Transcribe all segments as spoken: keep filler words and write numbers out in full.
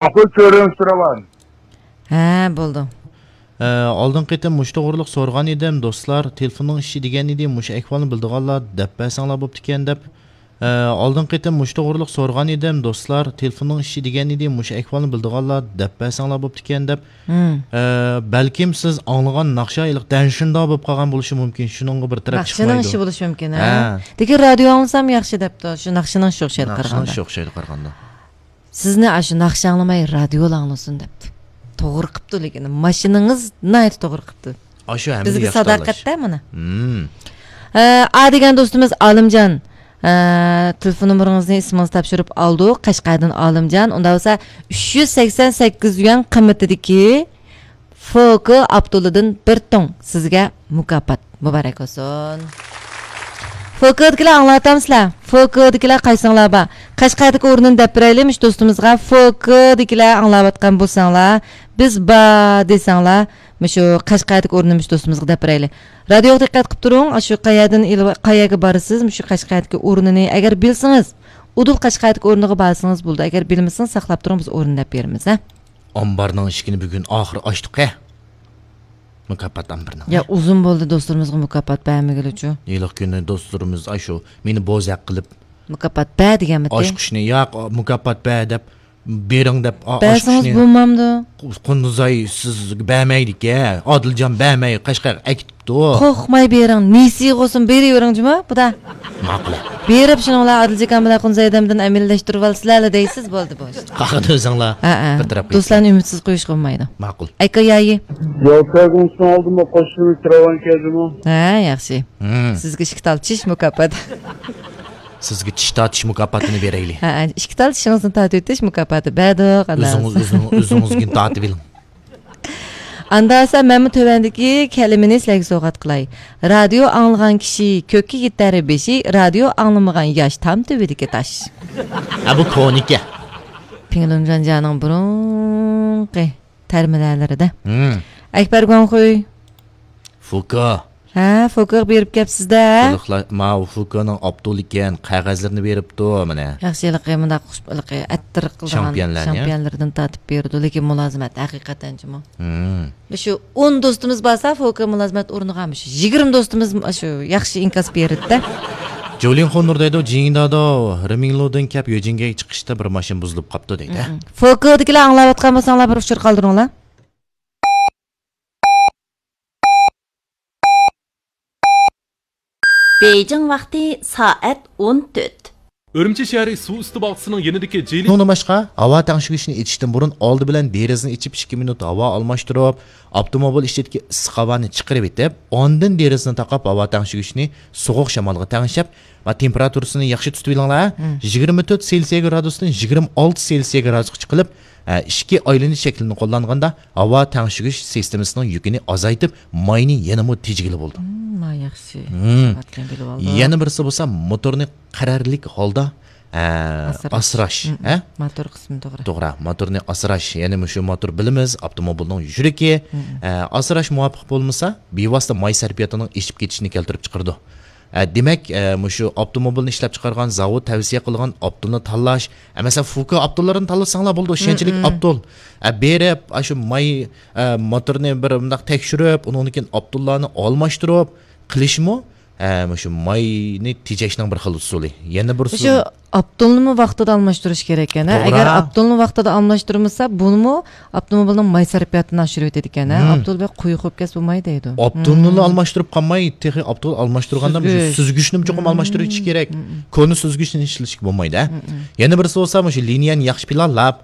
ماقۇل، كۆرۈنۈپ تۇرۇۋال. ھە، بولدى. ئە، ئالدىنقى قېتىم مۇشۇ توغرىلىق سورىغان ئىدىم، دوستلار، تېلېفوننىڭ ئىشى دېگەن ئىدى، مۇشۇ ئەھۋالنى بىلىدىغانلار دەپ بەرسەڭلار بوپتىكەن دەپ. ئە، ئالدىنقى قېتىم مۇشۇ توغرىلىق سورىغان ئىدىم، دوستلار، تېلېفوننىڭ ئىشى دېگەن ئىدى، مۇشۇ ئەھۋالنى بىلىدىغانلار دەپ بەرسەڭلار بوپتىكەن دەپ. ھىم. ئە، بەلكىم سىز ئاڭلىغان ناخشا ھېلىقى دەنشىنداۋ بولۇپ قالغان بولۇشى مۇمكىن، شۇنىڭغا بىر تەرەپ ناخشىنىڭ چىقمايدۇ. ئىشى بولۇشى مۇمكىن، ھە. ھە. لېكىن رادىيو ئاڭلىسام ياخشى دەپتۇ، شۇ ناخشىنىڭ ئىشى ئوخشايدۇ ناخشىنىڭ قارىغاندا. ئىشى ئوخشايدۇ قارىغاندا. سىزنى ئاشۇ ناخشا ئاڭلىماي رادىيولا ئاڭلىسۇن دەپتۇ. توغرا قىپتۇ، لېكىن ماشىنىڭىز ناھايىتى توغرا قىپتۇ. ئاشۇ ھەممىدە بىزگە ياخشى تاللاش. ساداقەتتە مانا. ھىم. ئە، ئا دېگەن دوستىمىز ئالىمجان، ئە، تېلېفون نومۇرىڭىزنى ئىسمىڭىزنى تاپشۇرۇپ ئالدۇق. قەشقەردىن ئالىمجان. ئۇنداق بولسا ئۈچ يۈز سەكسەن سەككىز يۈەن قىممىتىدىكى فوكو ئاپتولىدىن بىر توڭ سىزگە مۇكاپات. مۇبارەك بولسۇن. فوكودىكىلەر ئاڭلاۋاتامسىلەر؟ فوكودىكىلەر قايسىڭلار بار؟ قەشقەردىكى ئورنىنى دەپ بېرەيلى مۇشۇ دوستىمىزغا. فوكودىكىلەر ئاڭلاۋاتقان بولساڭلار، بىز بار دېسەڭلار، مۇشۇ قەشقەردىكى ئورنىنى مۇشۇ دوستىمىزغا دەپ بېرەيلى. رادىيوغا دىققەت قىلىپ تۇرۇڭ. ئاشۇ قەيەردىن ئېلىپ، قەيەرگە بارىسىز، مۇشۇ قەشقەردىكى ئورنىنى ئەگەر بىلسىڭىز، ئۇدۇل قەشقەردىكى ئورنىغا بارسىڭىز بولىدۇ. ئەگەر بىلمىسىڭىز، ساقلاپ تۇرۇڭ، بىز ئورنىنى دەپ بېرىمىز، ھە؟ ئامبارنىڭ ئىشىكىنى بۈگۈن ئاخىرى ئاچتۇق ھە. مۇكاپات ئامبىرىنىڭ. يا، ئۇزۇن بولدى دوستلىرىمىزغا مۇكاپات بەرمىگىلىچۇ. ھېلىقى كۈنى دوستلىرىمىز ئاشۇ مېنى بوزەك قىلىپ، مۇكاپات بەر دېگەنمىتى؟ ئاچقۇچنى ياق، مۇكاپات بەر دەپ، بېرىڭ دەپ، ئا-، بەرسىڭىز ئاچقۇچنى بولمامدۇ؟ قۇندۇزاي سىزگە بەرمەيدىكەن، ئادىلجان بەرمەي قەشقەرگە ئەكېتىپتۇ. قورقماي بېرىڭ، نېسىگە بولسۇن بېرىۋېرىڭ جۇمۇ، بۇدا. ماقۇل. بېرىپ شۇنىڭلار ئادىلجان بىلەن قۇندۇزاي ئادەمدىن ئەمەلىيلەشتۈرۈۋالسىلەرلا دەيسىز، بولدى بۇ ئىش. قاقىدە ئۆزۈڭلار ھە، ھە. بىر تەرەپ قىلىپ. دوستلارنى ئۈمىدسىز قويۇشقا بولمايدۇ. ماقۇل. ئەكا يايى. يول تەگمىسىنى ئالدىمۇ قوشۇلۇپ كىرىۋالغان كەلدىمۇ. ھە، ياخشى. ھىم. سىزگە ئىشىك تارتىش مۇكاپاتى. سىزگە چىش تارتىش مۇكاپاتىنى بېرەيلى. ھە، ھە، ئىشىك تارتىشىڭىزنى تارتىۋېتىش مۇكاپاتى بەردۇق، ئاللا ئۆزىڭىز، ئۆزىڭىز، ئۆزىڭىزگىنى تارتىۋېلىڭ. ئاندا بولسا مەنمۇ تۆۋەندىكى كەلىمىنى سىلەرگە سوۋغات قىلاي. رادىيو ئاڭلىغان كىشى كۆككە يېتەر بېشى، رادىيو ئاڭلىمىغان ياش تام تۈۋىدىكى تاش. ھە، بۇ كونىكەن. پىڭلۇن جۇەنجيانىڭ بۇرۇنقى تەرمىلەرلىرىدە. ھىم. ئەكبەر گۇاڭخۇي. فۇكا. ھە، فۇكاغا بېرىپ كەپسىز-دە. قىلىقلا-، ماۋۇ فۇكانىڭ ئاپتولى ئىكەن، قەغەزلىرىنى بېرىپتۇ، مانا. ياخشى، ھېلىقى مۇنداق خۇش-، ھېلىقى ئەتتىرىق قىلىدىغان شامپىيونلارنى. شامپىيونلىرىدىن تارتىپ بېرىدۇ، لېكىن مۇلازىمەت ھەقىقەتەن جۇمۇ. ھىم. مۇشۇ ئون دوستىمىز بارسا، فوكا مۇلازىمەت ئورنىغا مۇشۇ يىگىرمە دوستىمىز مۇشۇ ياخشى ئىنكاس بېرىدۇ-دە. جولىن خونۇر دەيدۇ، جىڭدادو، رىمىڭلۇدىن كەپ يۆجىنگەگە چىقىشتا بىر ماشىنا بۇزۇلۇپ قاپتۇ دەيدۇ، ھە؟ ھىم. فوكادىكىلەر ئاڭلاۋاتقان بولساڭلار، بىر ئۇچۇر قالدۇرۇڭلار. بېيجىڭ ۋاقتى سائەت ئون تۆت. ئۈرۈمچى شەھىرى سۇ ئۈستى باغچىسىنىڭ يېنىدىكى جىلى. شۇنىڭدىن باشقا، ھاۋا تەڭشىگۈچنى ئېچىشتىن بۇرۇن ئالدى بىلەن دېرىزىنى ئېچىپ، ئىككى مىنۇت ھاۋا ئالماشتۇرۇپ، ئاپتوموبىل ئىچىدىكى ئىسسىق ھاۋانى چىقىرىۋېتىپ، ئاندىن دېرىزىنى تاقاپ، ھاۋا تەڭشىگۈچنى سوغۇق شامالغا تەڭشەپ، ۋە تېمپېراتۇرىسىنى ياخشى تۇتۇۋېلىڭلار. مم. يىگىرمە تۆت سېلسىيە گرادۇستىن يىگىرمە ئالتە سېلسىيە گرادۇسقا چىقىرىپ، ئە، ئىچكى ئايلىنىش شەكلىنى قوللانغاندا، ھاۋا تەڭشىگۈچ سىستېمىسىنىڭ يۈكىنى ئازايتىپ، ماينى يەنىمۇ تېجىگىلى بولىدۇ. مم، ماي ياخشى. مم. ساۋاتنى بىلىۋالدۇق. يەنە بىرسى بولسا، موتورنى قەرەللىك ھالدا، ئە، ئاسراش. ئاسراش، مم، ئە؟ مم. موتور قىسمى توغرا. توغرا. موتورنى ئاسراش. يەنى مۇشۇ موتور بىلىمىز، ئاپتوموبىلنىڭ يۈرىكى. مم. ئە، ئاسراش مۇۋاپىق بولمىسا، بىۋاسىتە ماي سەرپىياتىنىڭ ئېشىپ كېتىشىنى كەلتۈرۈپ چىقىرىدۇ. ئە، دېمەك، ئە، مۇشۇ ئاپتوموبىلنى ئىشلەپچىقارغان زاۋۇت تەۋسىيە قىلغان ئاپتولنى تاللاش. ئە، مەسىلەن، فۇكا ئاپتوللىرىنى تاللىساڭلار بولىدۇ، ئىشەنچلىك مم، مم. ئاپتول. ئە، بېرىپ، ئاشۇ ماي، ئە، موتورنى بىر مۇنداق تەكشۈرۈپ، ئۇنىڭدىن كېيىن ئاپتوللارنى ئالماشتۇرۇپ قىلىشمۇ، ئە، مۇشۇ ماينى تېجەشنىڭ بىر خىل ئۇسۇلى. يەنە بىر ئۇسۇل. ئاپتولنىمۇ ۋاقتىدا ئالماشتۇرۇش كېرەك ئەنە. توغرا. ئەگەر ئاپتولنى ۋاقتىدا ئالماشتۇرمىسا، بۇنىمۇ ئاپتوموبىلنىڭ ماي سەرپىياتىنى ئاشۇرۇۋېتىدىكەن، ھە؟ مم. ئاپتول بەك قويۇق بولۇپ كەتسە بولماي دەيدۇ. ئاپتولنىلا مم. ئالماشتۇرۇپ قالماي، تېخى ئاپتول ئالماشتۇرغاندا مۇشۇ سۈزگۈچ. سۈزگۈچنىمۇ چوقۇم مم. ئالماشتۇرۇۋېتىش كېرەك. مم. كونا سۈزگۈچنى ئىشلىتىشكە بولمايدۇ، ھە؟ مم. يەنە بىرسى بولسا، مۇشۇ لىنىيەنى ياخشى پىلانلاپ،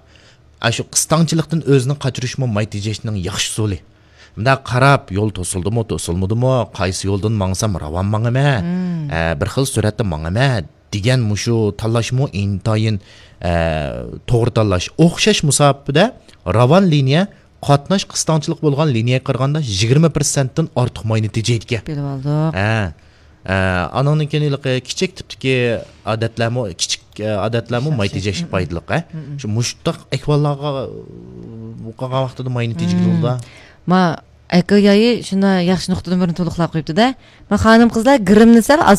ئاشۇ قىستاڭچىلىقتىن ئۆزىنى قاچۇرۇشمۇ ماي تېجەشنىڭ ياخشى ئۇسۇلى. مۇنداق قاراپ، يول توسۇلدىمۇ، توسۇلمىدىمۇ، قايسى يولدىن ماڭسام راۋان ماڭىمەن، مم. ئە، بىر خىل سۈرئەتتە ماڭىمەن، دېگەن مۇشۇ تاللاشمۇ ئىنتايىن، ئە، توغرا تاللاش. ئوخشاش مۇساپىدە راۋان لىنىيە قاتناش قىستاڭچىلىقى بولغان لىنىيەگە قارىغاندا يىگىرمە پىرسەنتتىن ئارتۇق ماينى تېجەيدىكەن. بىلىۋالدۇق. ھە. ئە، ئانىڭدىن كېيىن ھېلىقى كىچىك تىپتىكى ئادەتلەرمۇ، كىچىك، ئە، ئادەتلەرمۇ ماي شاخسەن. تېجەشكە مم، مم. پايدىلىق، ھە. مم، مم. شۇ مۇشۇنداق ئەھۋاللارغا، ئە، قالغان ۋاقتىدا ماينى تېجىگىلى بولىدۇ. مم. ما، ئەكا يايى شۇنداق ياخشى نۇقتىدىن بىرنى تولۇقلاپ قويۇپتۇ-دە. ما، خانىم قىزلار گىرىمنى سەل